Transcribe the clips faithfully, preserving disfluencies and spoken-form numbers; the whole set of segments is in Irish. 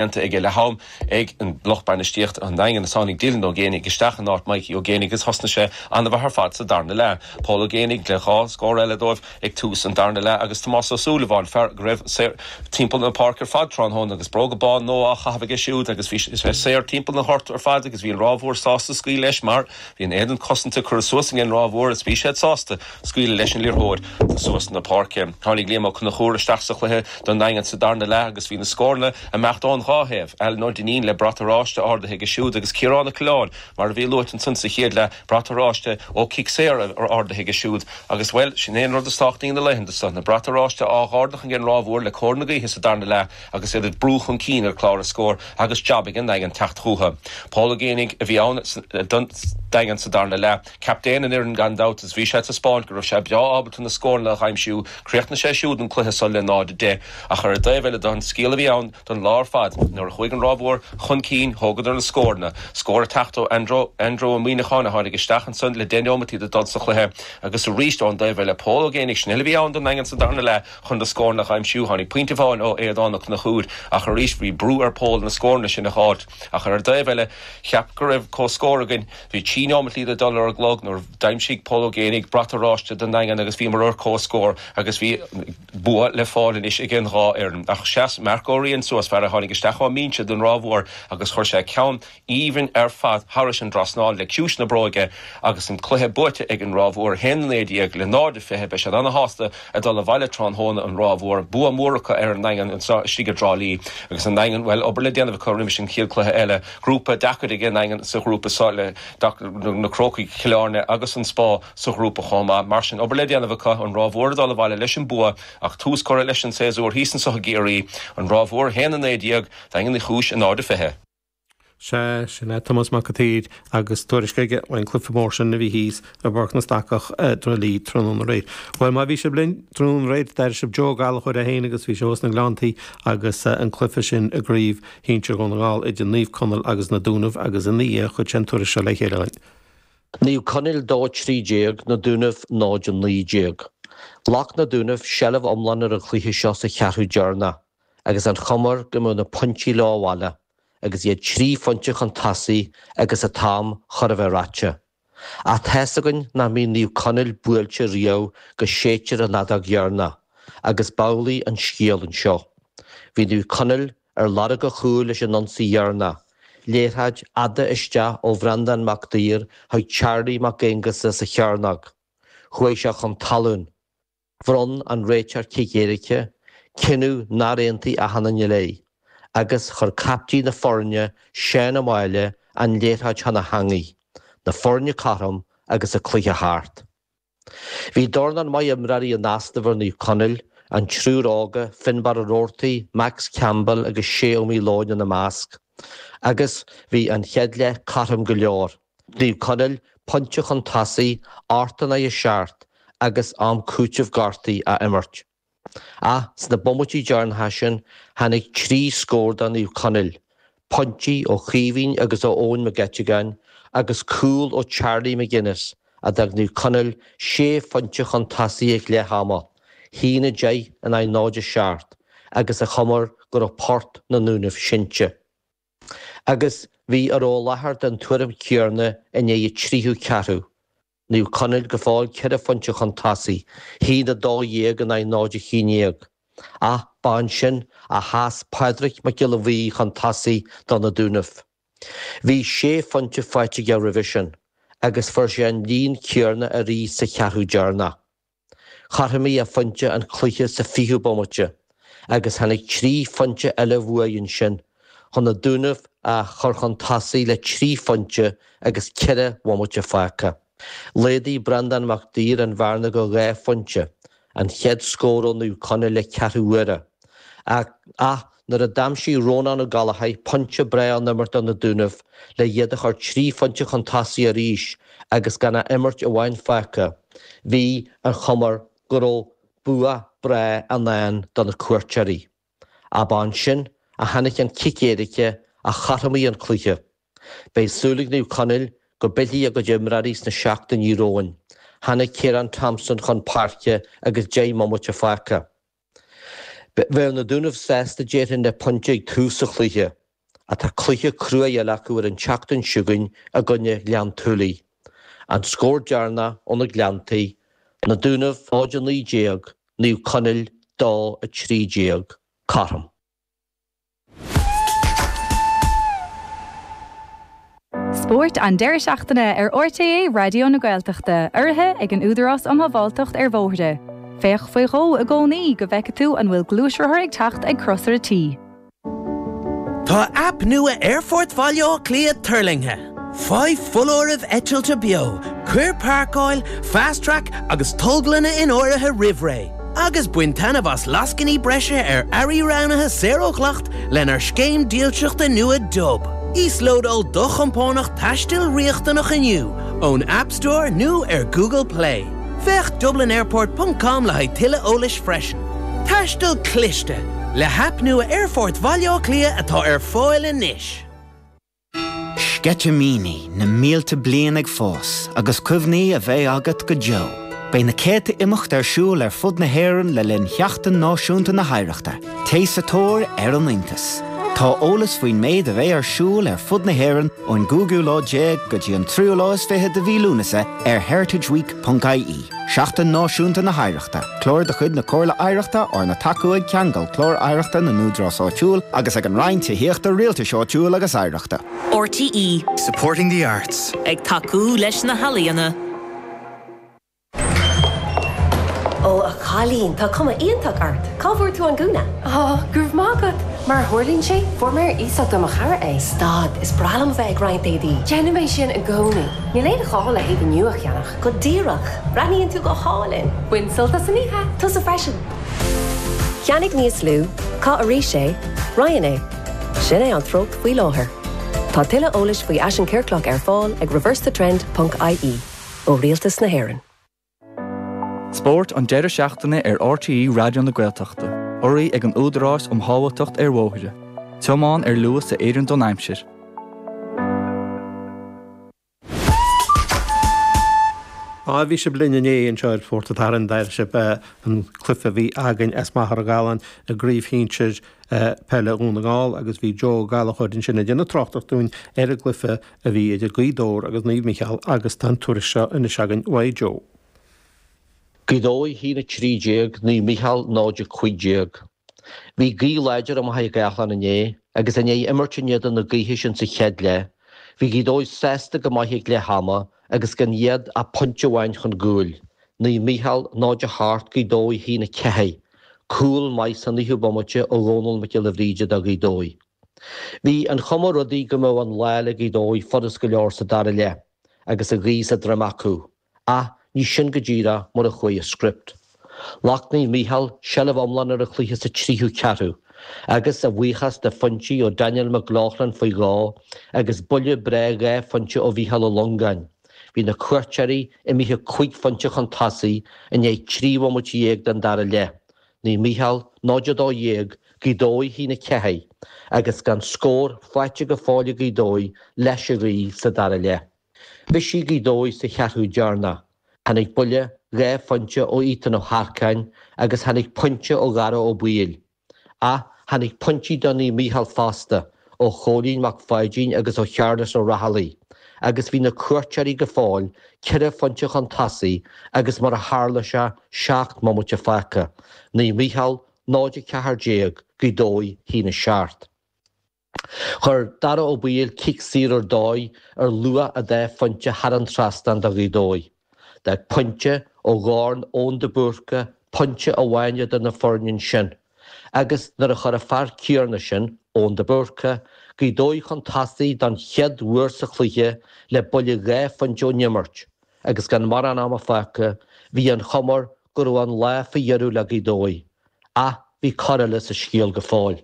déanta aige le ham ag an lucht bainistíochta an Daingean is tháinig Dylan Ó Géanaigh isteach in áit Mikey Ó Géanaigh agus thosnaigh sé an-mhaith ar fad sa darna leath. Paul Ó Géanaigh le dhá scór eile dóibh ag tús an darna leath agus Tomás Ó Súilleabháin fear go raibh saor timpeall na páirce ar fad tráthnóna agus bróga bán nua á chaitheamh aige siúd agus bhí sé saor timpeall na háite ar fad agus bhí an Ráth Mhór sásta scaoileadh leis mar bhí an éadan cosanta curtha suas ag an Ráth Mhór is bhí siad sásta scaoileadh leis an liathróid suas na páirce. Tháinig Liam Ó Conchúir isteach sa chluiche don Daingean sa darna leath agus bhí na scóranna ag imeacht ón dhá thaobh Alan Ó Duinnín le brat oráiste ardaithe aige siúd agus Ciarán Ó Coileáin mar a bhí luaite ansan sa chéad leath brat oráiste ó chic saor ardaithe aige siúd agus well sin é an rud is tábhachtaí na laethanta seo na brat oráiste á ardú ag an Ráth Mhór le cóir na gaoithe sa darna leath agus iad ag brú chun cinn ar chlár na scór agus jab ag an Daingean teacht chucu. Paul Ó Géanaigh a bhí ann don Daingean sa darna leath. Captaen an fhoireann gan dabht is bhí sé ag taispeáint go raibh sé breá ábalta na scóranna a aimsiú, chríochnaigh sé siúd an cluiche seo le náid a deich ach ar an dtaobh eile don scéal a bhí ann don lá ar fad nuair a chuaigh an Ráth Mhór chun cinn thógadar na scóranna. Scór ag teacht ó Andrew Andrew Ó Muíneacháin a tháinig isteach ansan le deich nóiméad le dul sa chluiche agus arís ón dtaobh eile Paul Ó Géanaigh sin eile a bhí ann don Daingean sa darna leath chun na scóranna a aimsiú tháinig pointe amháin ó Aodán Ó Conchúir ach arís bhí brú ar Paul na scóranna sin a fháil ach ar an dtaobh eile cheap go raibh comhscór againn bhí trí nóiméad le dul ar an gclog nuair d'aimsigh Paul Ó Géanaigh brat oráiste don Daingean agus bhí mar ar comhscór agus bhí bua le fáil anois ag an dhá fhoireann ach sheas Mark Ó Riain suas fear a tháinig isteach ón mbinse don Ráth Mhór agus chuir sé ceann aoibhinn ar fad thairis an trasnán le ciumhais na bróige agus an cluiche buaite ag an Ráth Mhór haon naoi déag le náid a fiche beidh siad an-shásta ag dul abhaile tráthnóna an Ráth Mhór bua mór acu ar an Daingean anseo istigh i dTrá Lí agus an Daingean bhfuil obair le déanamh acu roimh an chéad cluiche eile grúpa deacair ag an Daingean sa ghrúpa seo le na Crócaigh Chill Airne agus an Spá sa ghrúpa chomh maith mar sin obair le déanamh acu an Ráth Mhór dul abhaile leis an bua ach tús curtha leis an séasúr thíos anseo i gCiarraí an Ráth Mhór haon a naoi déag Daingean Uí Chúis a náid a fiche. Sé sin é Tomás Mac an tSaoir agus tuairisc aige ón gcluiche mór sin a bhí thíos i bPáirc na Stacach i dTrá Lí tráthnóna aréir. Well má bhí sibh linn tráthnóna aréir d'airigh sibh Joe Gallchóir é féin agus bhí sé sna Gleanntaí agus an cluiche sin i gcraobh shinsir Dhún na nGall idir Naomh Conaill agus na Dúnaibh agus ina dhiaidh chuir sé an tuairisc seo le chéile linn. Naomh Conaill dó trí déag na Dúnaibh náid naoi déag. Ghlac na Dúnaibh seilbh iomlán ar an chluiche seo sa cheathrú deireanach, agus an chuma go mbeadh na pointí leo abhaile, agus iad trí phointe chun tosaigh agus an t-am chóir a bheith ráite. Ach tá a fhios againn nach mbíonn Naomh Conaill buailte riamh go séidtear an fheadóg dheireanach, agus b'amhlaidh an scéal anseo. Bhí Naomh Conaill ar lorg an chúil leis an ionsaí dheireanach, liathróid fhada isteach ó Bhreandán Mac Duir chuig Charlie Mac Aonghusa sa chearnóg. Chuaigh sé chun talún. Bhronn an réiteoir cic éirice, cinneadh nár aontaigh achan duine léi, agus chuir captaen na foirne Seán Ó Máille an liathróid chun na heangaí, na foirne cothrom agus an cluiche thart. Bhí dornán maith imreoirí in easnamh ar Naomh Conaill, an triúr óga, Finbar Ó Roarty, Max Campbell agus Shea Ó Míleoin ina measc. Agus bhí an chéad leath cothrom go leor. Naomh Conaill pointe chun tosaigh, ocht in aghaidh a seacht agus am cúitimh gortaithe á imirt. Ach sna bomaití deireanacha sin tháinig trí scór do Naomh Conaill, pointí ó Chaoimhín agus ó Eoin Mac Eiteagáin agus cúl ó Charlie McGuinness a d'fhág Naomh Conaill sé phointe chun tosaigh ag leath ama, haon a deich in aghaidh náid a seacht, agus an chuma go raibh port na nDúnaibh seinnte. Agus bhí a raibh i láthair den tuairim chéanna i ndiaidh an tríú ceathrú. Naomh Conaill go fóill ceithre phointe chun tosaigh, haon a dó dhéag in aghaidh náid a haon déag. Ach ba ansin a sheas Pádraig Mac Giolla Bhuí chun tosaigh do na Dúnaibh. Bhí sé phointe faighte aige roimhe sin, agus fuair sé an líon céanna arís sa cheathrú deireanach. Chothromaigh a phointe an cluiche sa fichiú bomaite, agus tháinig trí phointe eile uaidh ansin chun na Dúnaibh a chur chun tosaigh le trí phointe agus ceithre bhomaite fágtha. Laghdaigh Breandán Mac Duir an bhearna go dhá phointe, an chéad scór ó Naomh Conaill le ceathrú uaire. Ach, ach nuair a d'aimsigh Rónán Ó Gallchóir pointe breá ón imirt do na Dúnaibh le iad a chur trí phointe chun tosaigh arís agus gan ach imirt amháin fágtha, bhí an chuma go raibh bua breá i ndán do na cuairteoirí. Ach ba ansin a tháinig an cic éirice a chothromaigh an cluiche. Beidh súil ag Naomh Conaill go bhfillfidh a gcuid imreoirí sna seachtainí romhainn. Tháinig Ciarán Thompson chun páirce agus deich mbomaite fágtha. Bheadh na Dúnaibh sásta déarfainn le pointe ag tús an chluiche, ach tá cluiche crua eile acu ar an tseachtain seo chugainn i gcoinne Ghleann tSúilí. An scór deireanach ó na Gleanntaí, Na Dúnaibh náid a naoi déag, Naomh Conaill dó a trí déag. Cothrom. Spórt an deireadh seachtaine ar RTÉ Raidió na Gaeltachta, urraithe ag an Údarás um Shábháilteacht ar Bhóithre. Féach faoi dhó i gcónaí go bhfeice tú an bhfuil gluaisrothar ag teacht ag crosaire T. Tá aip nua Aerfort Bhaile Átha Cliath tuirlingthe. Faigh foláirimh eitilte beo, cuir páirceáil, Fast Track agus tolglanna in áirithe roimh ré. Agus bain taitneamh as lascainí breise ar earraí roghnaithe saor ó dhleacht lenár scéim dílseachta nua Dub. Íoslódáil do chompánach taistil riachtanach inniu ón App Store nó ar Google Play. Féach dublinairport ponc com le haghaidh tuilleadh eolais freisin. Taisteal cliste le haip nua Aerfort Bhaile Átha Cliath atá ar fáil anois. Sceitimíní na mílte bliain ag fás agus cuimhní a bheidh agat go deo. Beidh na céadta imeacht ar siúl ar fud na hÉireann le linn Sheachtain Náisiúnta na hOidhreachta. Téigh sa tóir ar an iontas! Tá eolas faoin méid a bheidh ar siúl ar fud na hÉireann ón gcúigiú lá déag go dtí an tríú lá is fiche de mhí Lúnasa ar heritageweek ponc ie. Seachtain Náisiúnta na hOidhreachta, clár de chuid na Comhairle Oidhreachta arna tacú ag Ceangal Clár Oidhreachta na nÚdarás Áitiúil agus ag an Roinn Tithíochta, Rialtais Áitiúil agus Oidhreachta. RTÉ. Supporting the arts. Ag tacú leis na healaíona. Ó, a chailín, tá cuma iontach ort. Cá bhfuair tú an gúna? Ó, go raibh maith agat. Mar a tharlaíonn sé, fuair mé ar iasacht ó mo chara é. Stad, is breá liom a bheith ag roinnt éadaí. Déanaim é sin i gcónaí. Níl aon ghá le héadaí nua a cheannach. Go díreach. Breathnaíonn tú go hálainn. Bain sult as an oíche. Tusa freisin. Ceannaigh níos lú, caith arís é, roinn é. Sin é an treocht faoi láthair. Tá tuilleadh eolais faoi fhaisean ciorclach ar fáil ag reversethetrend ponc ie ó Rialtas na hÉireann. Spórt an deireadh seachtaine ar RTÉ Raidió na Gaeltachta, urraithe ag an Údarás um Shábháilteacht ar Bhóithre. Tiomáin ar luas a oireann don aimsir. Á, bhí sibh linn inné anseo ar Spórt an tSathairn, d'airigh sibh an cluiche a bhí againn as Machaire Galláin i gcraobh shinsir peile Dhún na nGall agus bhí Joe Ó Gallchóir ansin ag déanamh tráchtaireacht dúinn ar an gcluiche a bhí idir Gaoth Dobhair agus Naomh Mícheál agus tá an tuairisc seo anois againn uaidh Joe. Gaoth Dobhair a haon a trí déag, Naomh Mícheál náid a cúig déag. Bhí gaoth láidir i Machaire Gathlán inné agus i ndiaidh imirt in éadan na gaoithe sin sa chéad leath, bhí Gaoth Dobhair sásta go maith ag leath ama agus gan iad ach pointe amháin chun gcúil, Naomh Mícheál náid a hocht, Gaoth Dobhair a haon a ceathair. Cúl maith sa naoú bomaite ó Dhónal Mac Giolla Bhríde do Ghaoth Dobhair. Bhí an chuma ar rudaí go mbeadh an lá le Gaoth Dobhair furast go leor sa dara leath agus an ghaoth sa droim acu. Ach ní sin go díreach mar a chuaigh an script. Ghlac Naomh Mícheál seilbh iomlán ar an chluiche sa tríú ceathrú, agus a bhuíochas do phointí ó Daniel McLaughlin faoi dhó agus buille breá dhá phointe ó Mhícheál Ó Longáin, bhí na cuairteoirí imithe cúig phointe chun tosaigh i ndiaidh trí bhomaite dhéag den dara leath, Naomh Mícheál náid a dó dhéag, Gaoth Dobhair a haon a ceathair, agus gan scór faighte go fóill ag Gaoth Dobhair leis an ghaoth sa dara leath. Bhisigh Gaoth Dobhair sa cheathrú deireanach. Tháinig buille dhá phointe ó Ethan Ó hEarcáin agus tháinig pointe ó Dhara Ó Baoill. Ach tháinig pointí do Naomh Mícheál fosta, ó Chóilín Mac Pháidín agus ó Shearlas Ó Raghallaigh, agus bhí na cuairteoirí go fóill ceithre phointe chun tosaigh agus mar a tharla sé, seacht mbomaite fágtha, Naomh Mícheál náid a ceathair déag, Gaoth Dobhair a haon a seacht. Chuir Dara Ó Baoill cic saor ar dóigh ar luach an dá phointe thar an trasnán do Ghaoth Dobhair. D'fhág pointe ó dhorn Eoin de Búrca pointe amháin idir na foirne ansin agus nuair a chuir an fear céanna sin, Eoin de Búrca, Gaoth Dobhair chun tosaigh don chéad uair sa chluiche le buille dhá phointe ón imirt agus gan mórán ama fágtha, bhí an chuma air go raibh an lá faoi dheireadh le Gaoth Dobhair. Ach bhí cor eile sa scéal go fóill.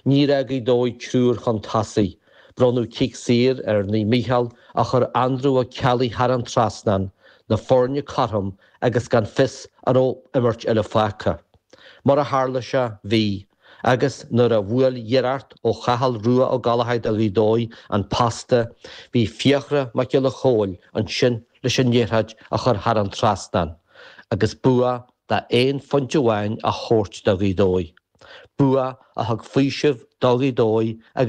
Níor fhág Gaoth Dobhair triúr chun tosaigh. Bronnadh cic saor ar Naomh Mícheál a chuir Andrew Ó Ceallaigh thar an trasnán, na foirne cothrom agus gan fios an raibh imirt eile fágtha. Mar a tharla sé, bhí, agus nuair a bhuail iarracht ó Chathal Rua Ó Gallchóir do Ghaoth Dobhair an posta, bhí Fiachra Mac Giolla Chóill ansin leis an liathróid a chur thar an trasnán agus bua d'aon phointe amháin a thabhairt do Ghaoth Dobhair. Bua a thug faoiseamh do Ghaoth Dobhair agus